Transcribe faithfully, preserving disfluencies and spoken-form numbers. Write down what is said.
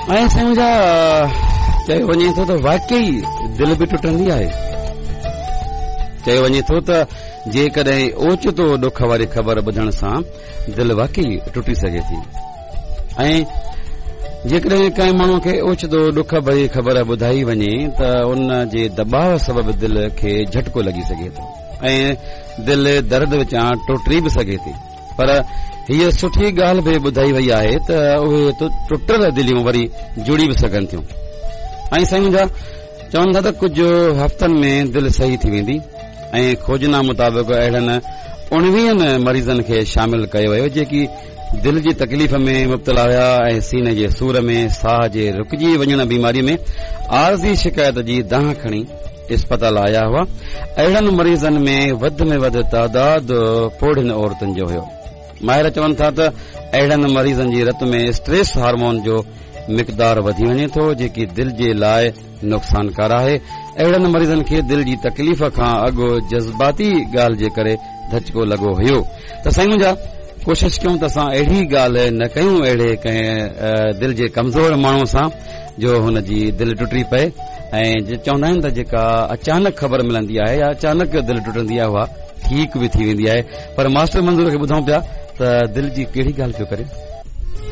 ۽ سائين منهنجا، چيو وڃي ٿو ته واقعي دل به ٽٽندي آهي. چيو وڃي ٿو ته جيڪڏهن اوچتو ڏک واري خبر ٻڌڻ سان دل واقعي ٽٽي سگهي ٿي، ۽ جيڪڏهن ڪنهن ماڻهو کي اوچتو ڏک ڀري خبر ٻڌائي وڃي ته ان جي دٻاء سبب دل کي جهٽڪو لڳي سگهي ٿو ۽ دل درد وچان ٽٽي به سگهي ٿي. پر هيء سٺي ڳالهه به ٻڌائي وئي آهي ته اهي ٽٽل دليون وري جڙي به سگهن ٿيون. ۽ سائين منهنجا، چون ٿا ته ڪجهه هفتن ۾ دل صحيح ٿي ويندي، ۽ کوجنا مطابق اهڙن اڻويهن مريضن کي شامل ڪيو ويو جيڪي دل جي تڪليف ۾ مبتلا هيا ۽ سيني جي سور ۾، ساهه جي رڪجي وڃڻ بيماري ۾ عارضي شڪايت جي دانهن کڻي اسپتال آيا هئا. اهڙن مريضن ۾ وڌ ۾ وڌ تعداد پوڙهين عورتن جو هيو. ماهر چون ٿا ته اهڙن مريضن جي رت ۾ اسٽريس هارمون جو مقدار وڌي وڃي ٿو، جيڪي دل جي لاء نقصانڪار آهي. اهڙن مريضن کي دل جي تڪليف کان اڳ جذباتي ڳالهه جي ڪري ڌچڪو لڳو هيو. ته سائين منهنجا، ڪوشش ڪيون ته اسان اهڙي ڳالهه نه ڪيون اهڙي ڪنهن دل جي ڪمزور ماڻهو سان جو هن جي دل ٽٽي پئي. ۽ چوندا آهن ته جيڪا اچانڪ خبر ملندي آهي يا اچانڪ دل ٽٽندي آهي اها ٺيڪ به ٿي ويندي آهي. پر ماسٽر منظور کي ٻڌون پيا ته دل جي ڪهڙي ڳالهه پيو ڪري.